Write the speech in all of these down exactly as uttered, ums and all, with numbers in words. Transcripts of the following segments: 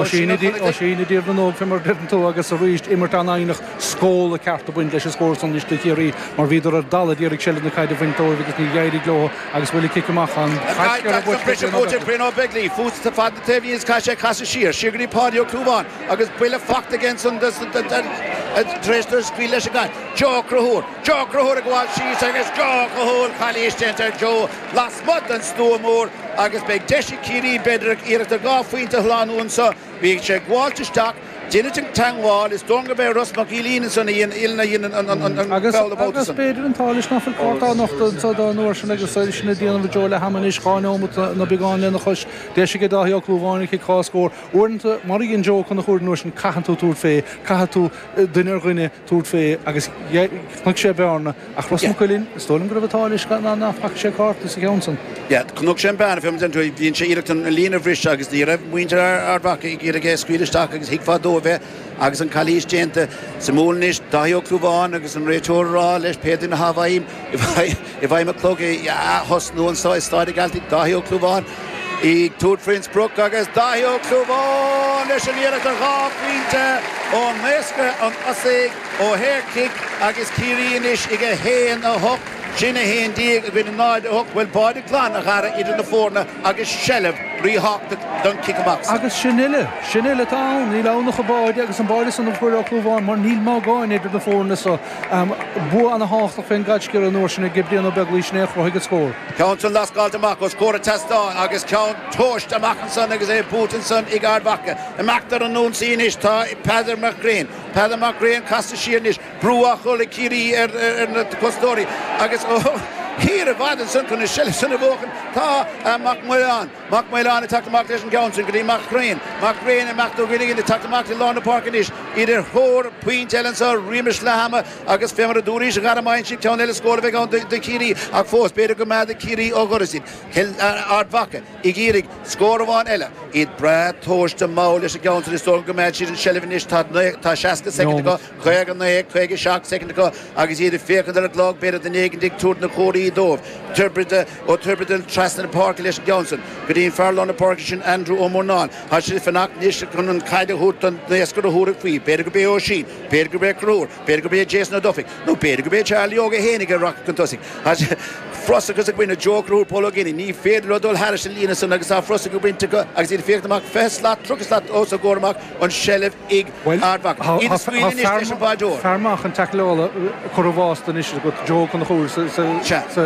Oisín i dTír na nÓg fé mar a deireann tú agus arís imirt an-fhoighneach scóla ceart a bhaint leis an scór san anois do Chiarraí mar bhíodar ar dalladh d'iarraidh seilbh na caide a bhaint dóibh agus ní d'éirigh leo agus bhfuil an cic amach an Brian Ó Beaglaoich fós fad na taobhlíne is caithfidh sé casadh siar siar go dtí Páidí Ó Clúmháin agus buille fachta aige ansan tar éis dó scaoileadh leis an gcaid. Joe Ó Conchúir Joe Ó Conchúir ag gabháil síos agus Joe Ó Conchúir calaois déanta ar Joe lasmuigh den stua mór agus beidh deis ag Ciarraí b'fhéidir iarracht ar dhá phointe a shlánú anseo. Bhí sé ag gabháilt isteach, deineadh an teangmháil, is dóigh liom gurb é Ros Mac Uidhilín ansan a dhein a dhein an Agus foul about agus san. b'fhéidir an t-ádh leis nach bhfuil cárta á nochtadh anso don uair sin agus sin ag déanamh Joe le ham anois dhá neomat nó beagán lena chois. Deis aige Dáithí Ó Clúmháin an cic dhá scór. Uaireanta mar a dhein Joe Ó Conchúir an uair sin caitheann tú tabhairt fé, caithfidh tú duine ar dhuine tabhairt fé agus chonaic sé bearna ach Ros Mac Uidhilín, is dóigh liom go raibh an t-ádh leis nach bhfaca sé cárta sa cheann san. Yeah, chonaic sé an bearna fé mar bhíonn sé iarracht an líne a bhriseadh agus ní raibh muintir Ard Mhacha ag iarraidh é a scaoileadh isteach agus thuigfeá dóibh é agus an calaois déanta. Suimiúil anois Dáithí Ó Clúmháin agus an réiteoir ag rá leis pé duine atá i bhfeidhm i bhfeidhm an clog a thosnú anseo i Staid an Ghealtaigh Dáithí Ó Clúmháin ag tabhairt faoin sprioc agus Dáithí Ó Clúmháin leis an iarracht ar dhá phointe ón naoscaire an Osaigh ó shaorchic agus Ciarraí anois ag a haon a hocht sin a haon déag i gcoinne náid a hocht bhfuil báide glan a Dhara idir na foirne agus seilbh ríthábhachtach don cic amach. Agus sin uile, sin uile atá ann, níl ann ach an báide agus an báide san a fuair Ó Clúmháin mar níl magáin idir na foirne so um, bua an-thábhachtach fén gcaid an uair sin ag Brian Ó Beaglaoich sin é a chruthaigh an scór. Ceann san lascáilte amach os comhair an tseastáin agus ceann tomhaiste amach ansan agus é buaite ansan ag Ard Mhacha. Imeacht ar an ionsaí anois tá Peadar Mac Grian. Peadar Mac Grian casta siar anois brú á chur ag Ciarraí ar ar na cosantóirí agus thiar i bhfad ansan chun na seilbh san a bhuachan tá Mac Maoláin. Mac Maoláin ag teacht amach leis an gceann sin go dtí Mac Grian. Mac Grian imeacht ó Ghinegan ag teacht amach i lár na páirce anois idir thóir pointe eile anseo roimis leath ama agus fé mar a dúraís a Dhara maíonn siad ceann eile scór a bheith ann do Chiarraí ach fós b'fhéidir go mbeadh Ciarraí ó dhoras iad Ard Mhacha ag iarraidh scór amháin eile iad breá tomhaiste mall leis an gceann sin is dóigh go mbeadh siad an seilbh anois tá seasca soicind acu caoga naoi caoga seacht soicind acu agus iad ag féachaint ar an gclog b'fhéidir duine éigin ag tabhairt na comharthaí dóibh Tuirbide ó Tuirbide trasna na páirce leis an gceann sin go dtí an fear lár na páirce sin Andrew Ó Murnáin Tá siad ag fanacht anois chun an chaid a thabhairt don naoscaire a thabharfaidh faoi b'fhéidir gurb é Oisín b'fhéidir gurb é Conchúr b'fhéidir gurb é Jason Ó Dufaigh nó b'fhéidir gurb é Charlie Óg é féinig a rachaidh chun tosaigh Frosachas ag baint Joe Conchúr Paul Ó Géibheannaigh ní féidir leo dul thairis an líne san agus tá frosach ag baint acu agus iad ag féachaint amach fiche slat tríocha slat os a gcomhair amach an seilbh ag Ard Mhacha iad ag scaoileadh anois leis an báideoir. Fear maith an taicleála curtha i bhfásta anois agat Joe Conchúr sa cheart go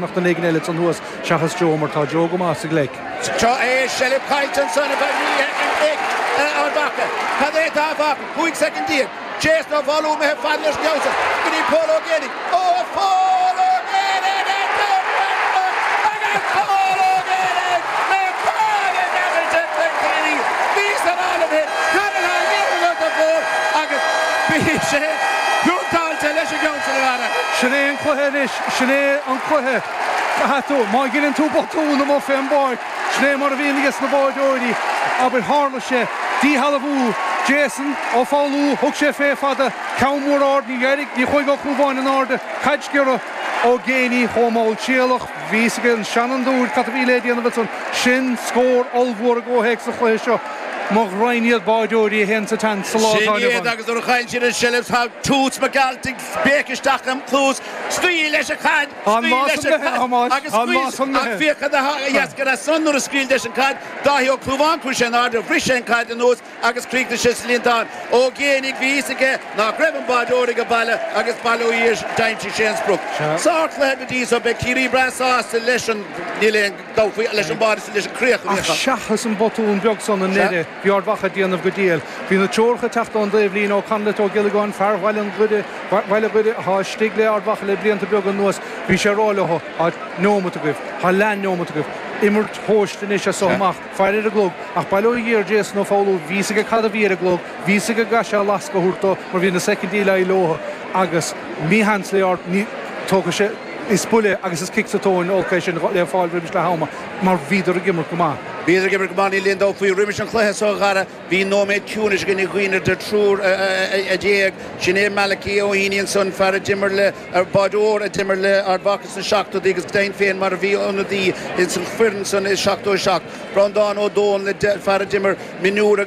mbeadh duine éigin eile ansan thuas seachas Joe mar tá Joe go maith sa ghleic. Seo é seilbh caillte ansan a bheith ag Ard Mhacha. Cad é atá fágtha? Cúig soicind déag. Jason Ó Foghlú imithe fada leis an gceann sin go dtí Pól Ó Géibheannaigh. Ó Phól Ó Géibheannaigh agus Pól Ó Géibheannaigh le báide neamhaird Bhí san áireamh é cad atá á dhéanamh agat a Phóil agus bhí sé pointeáilte leis an gceann sin a Dhara. Sin é an cluiche anois, sin é an cluiche. Caithfidh tú, má dheineann tú botún amuigh fén bpáirc, sin é mar a bhíonn aige sna báideoirí, abair tharla sé, díshealbhú Jason Ó Foghlú, thug sé fé fada, ceann mór ard, ní d'éirigh, ní chuaigh Ó Clúmháin in airde, caid sciorra Ó Géibheannaigh chomh mall trialach, bhí a fhios ag an seanfhondúir cad a bhí le déanamh ansan, sin scór ollmhór i gcomhthéacs an chluiche seo. Mo ghraidhin iad báideoirí a théann sa tseans sa lá Sin atá inniu iad ann. agus nuair a chaill siad an seilbh tá Toots McAltig béic isteach im chluas, scaoil leis an chaid, Tá an scaoil lá leis san an imithe, chaid a Thomáis, agus tá an lá scaoil san ach imithe. féach cad a dheascair as san nuair a scaoil leis an chaid, Dáithí Ó Clúmháin chuaigh sé in airde, bhris sé an chaid anuas agus chríochnaigh sé sa líontán. Ó Géibheannaigh bhí fhios aige nach raibh an báideoir ag baile agus bail ó Dhia d'aimsigh sé an sprioc. Sárchluiche go dtí so, beidh Ciarraí breá sásta leis an, níl aon dabht faoi, leis an báide leis an chríoch a bhí Ach acu. seachas an botún beag san i Sea. ndeireadh, bhí Ard Mhacha ag déanamh go diail. Bhí na treoracha ag teacht ón dtaobhlíne ó Conleth Ó Giollagáin, fear Bhaile an Ghoire, Bhaile Ghoire atá istigh le Ard Mhacha le blianta beaga anuas, bhí sé ag rá leo, tá neomat agaibh, tá leath-neomat agaibh, imirt thomhaiste anois as so Sea. amach, faire ar an gclog. Ach bail ó Dhia ar Jason Ó Foghlú, bhí fhios aige cad a bhí ar an gclog, bhí fhios aige go gcaithfeadh sé lasc a thabhairt dó mar bhí na soicindí le leo agus mísheans le Ard, ní, tógfaidh sé, is buille agus is cic sa tóin olc é sin le fáil roimis leath ama mar bhíodar ag imirt go maith. Bhíodar ag imirt go maith, níl aon dabht faoi. Roimis an chluiche seo a Dhara, bhí nóiméad ciúnais againn ag dhaoine idir triúr a d'éag. Sin é Malachy Ó hAonaigh ansan, fear a d'imir le, báideoir a d'imir le Ard Mhacha sna seachtóidí agus go deimhin féin mar a bhí ionadaí ins an foireann san i seachtó a seacht. Breandán Ó Dónaill, fear a d'imir mionúir agus.